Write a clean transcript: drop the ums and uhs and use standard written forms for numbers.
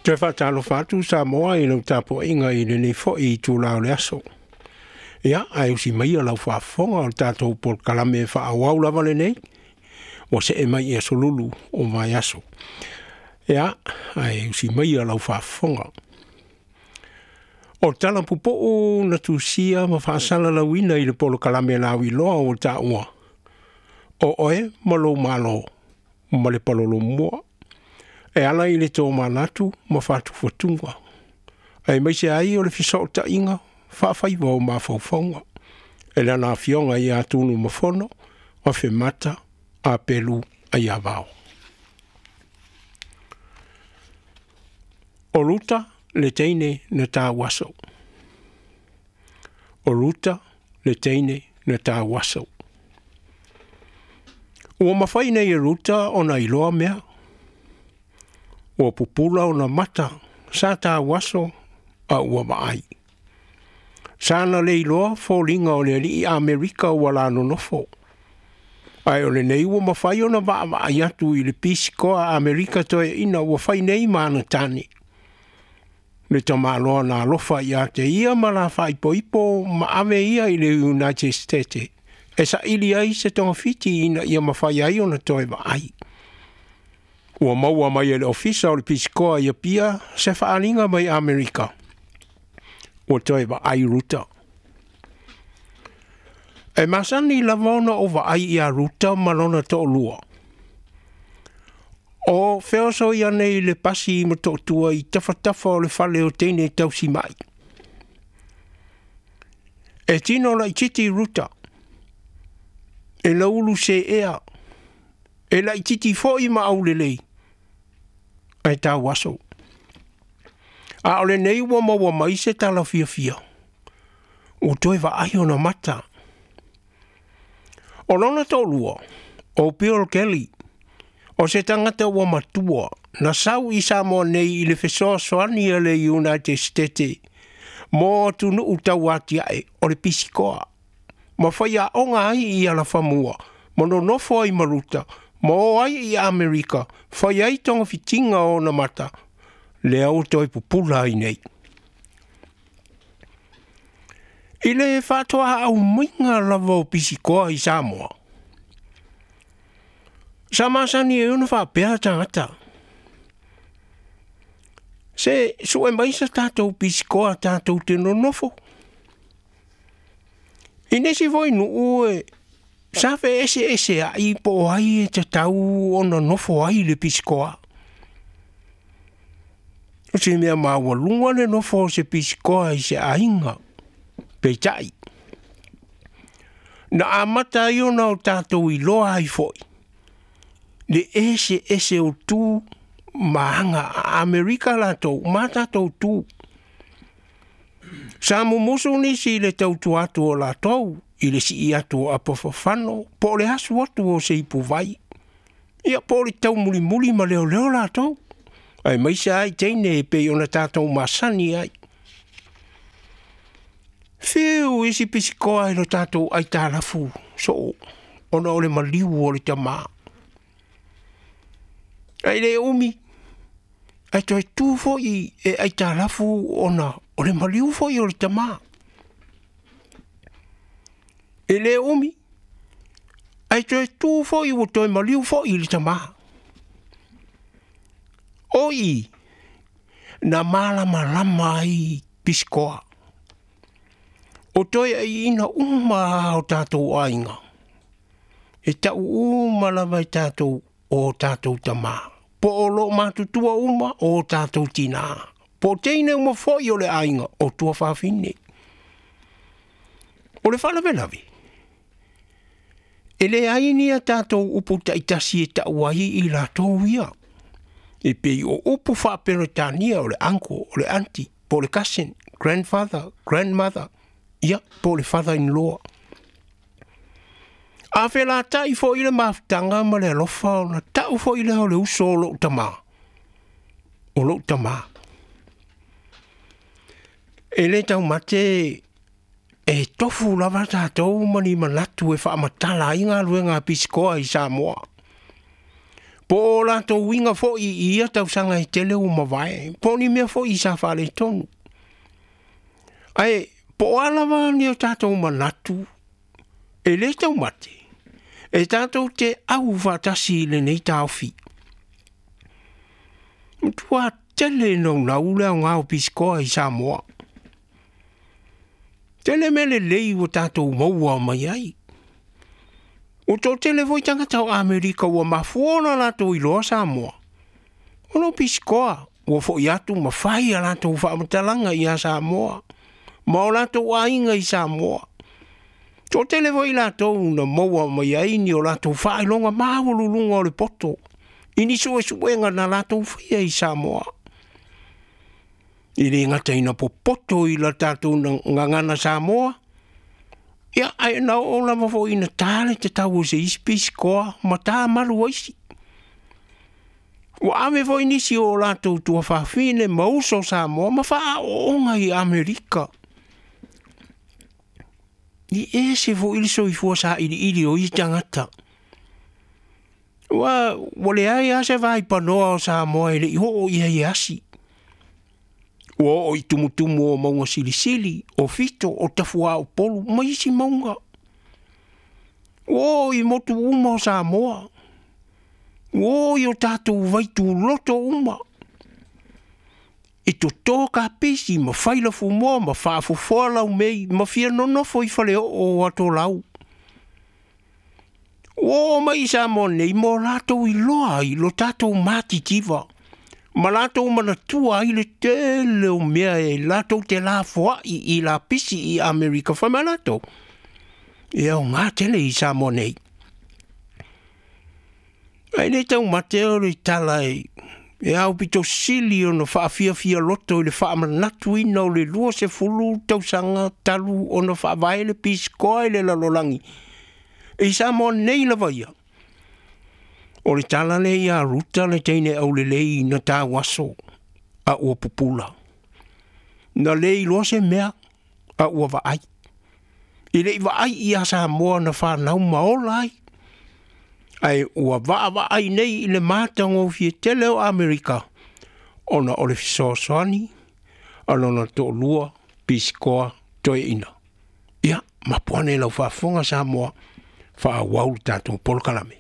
Toe faatalofa atu Samoa i lau tapuaiga i lenei foi itula o le aso. Ia, ae usi maia lau faafofoga o le tatou polokalame e faaauau lava lenei, ua see mai i aso Lulu o vaiaso. Ia, ae usi maia lau faafofoga. O tala pupuu na tusia ma faasalalauina i le polokalame lauiloa ua taua, o oe ma lou Malo ma le palolomua, e ala i le tomanatu ma fatufatuga, aemaise ai o le fesootaiga faafaiva o mafaufauga, e lana afioga ia Tunumafono Afemata Apelu Aiavao. O Ruta le teine na tauaso. O Ruta le teine na tauaso. Ua mafai nei e Ruta ona iloa mea. Ua pupula ona mata sa tauaso a ua vaai. Sa na le iloa foliga o le alii Amerika ua la nonofo. Ae o lenei ua mafai ona vaavaai atu i le pisikoa Amerika toeaina ua fai nei ma ana tane. Le tamaloa na alofa ia te ia ma la faaipoipo ma ave ia i le United States e saili ai se togafiti ina ia mafai ai ona toe vaai. Ua maua mai e le ofisa o le pisikoa i Apia se faaaliga mai Amerika. Ua toe vaai Ruta. E masani lava ona ou vaai ia Ruta ma lona toalua. O feoso ia nei le pasi i Motootua i tafatafa o le fale o teine tausimai. E tino laititi Ruta. E laulu seea. E laititi foi ma aulelei. Ae tauaso. A o lenei ua maua mai se tala fiafia. Ua toe vaai ona mata. O lona toalua, o Bill Kelly, o se tagata ua matua, na sau i Samoa nei i le fesoasoani a le United States mo atunuu tauatiae o le pisikoa, ma faiaoga ai i Alafamua, ma nonofo ai ma Ruta, ma o ai i Amerika, fai ai togafitiga o ona mata, lea ua toe pupula ai nei. I le faatoa aumaiga lava o pisikoa i Samoa, sa masani ai ona faapea tagata, Se sue mai sa tatou pisikoa tatou te nonofo. I nisi foi nuu e sa feeseeseai po o ai e tatau ona nofo ai le pisikoa. O se mea maualuga le nofo o se pisikoa i se aiga, peitai, na amata ai ona o tatou iloa ai foi le eseese o tu ma aga a Amerika latou ma tatou tu. Sa mumusu nisi i le tautua atu o latou i le sii atu o apafafano po o le asu atu o se ipuvai. Ia po o le taumulimuli ma leoleo latou, aemaise ai teine e pei ona tatou masani ai. Fiu isi pisikoa i lo tatou aitalafu soo ona o le maliu o le tamā. Ae le umi, ae toe tu foi e aitalafu ona o le maliu foi o le tamā. E le umi, ae toe tu foi ua toe maliu foi le tamā. O i, na malamalama ai pisikoa. O toeaiina uma o tatou aiga, e tau uma lava e tatou o tatou tamā, po o loo matutua uma o tatou tinā, po o teine uma foi o le aiga o tuafafine. O le faalavelave, e leai ni a tatou upu taitasi e tau ai i latou ia. E pei o upu faaperetania o le uncle, o le auntie, po o le cousin, grandfather, grandmother, ia, po o le father-in-law. A felatai foi le mafutaga ma le alofa ona tau foi lea o le uso o lou tamā, o lou tamā. E le taumate e tofu lava tatou ma ni manatu e faamatala ai galuega a pisikoa i Samoa. Po o latou uiga foi i ia tausaga e tele ua mavae, po o ni mea foi sa faaletonu. Ae po o a lava ni o tatou manatu e lē taumate, e tatou te au faatasi i lenei taofi. Matua tele naunau le aoga o pisikoa i Samoa. Tele mea lelei ua tatou maua mai ai. Ua toatele foi tagata o Amerika ua mafua ona latou iloa Samoa, ona o pisikoa ua fo'i atu ma fai a latou faamatalaga ia Samoa ma o latou aiga i Samoa. Toatele foi latou na maua mai ai ni o latou faailoga maualuluga o le poto i ni suesuega na latou faia i Samoa. E lē gata ina popoto i la tatou gagana Samoa, ia ae na oo lava foi ina ta le tatau o se isi pisikoa ma ta malu aisi. Ua ave foi nisi o latou tuafafine ma uso Samoa ma faaooga i Amerika. I ese foi le soifua sailiili o ia tagata. Ua leai lava se vaipanoa o Samoa e lei oo i ai e asi. Ua oo i tumutumu o mauga silisili, o Fito, o Tafuaopolu ma isi mauga. Ua oo i motu uma o Samoa. Ua oo i o tatou vaituloto uma. E toto kapisi ma fai lafumoa ma faafofoa laumei ma fia nonofo i faleoo o atolau. Ua oo mai i Samoa nei mo latou iloa ai lo tatou matitiva ma latou manatua ai le tele o mea e latou te lafoai i lapisi i Amerika. Fai mai latou, e aoga tele i Samoa nei. Ae le taumate o le tala e aupito sili ona faafiafia loto i le faamanatuina o le 20 tausaga talu ona faavae le pisikoa i le lalolagi i Samoa nei lava ia. O le tala lea ia Ruta le teine aulelei na tauaso a ua pupula. Na le iloa se mea a ua vaai. E lei vaai ia Samoa na whanau ma ola ai. Ae ua vaavaai nei i le matagofie tele o Amerika ona o le fesoasoani a lona toalua pisikoa toeaina. Ia, mapu ane lau faafofoga Samoa, faaauau le tatou polokalame.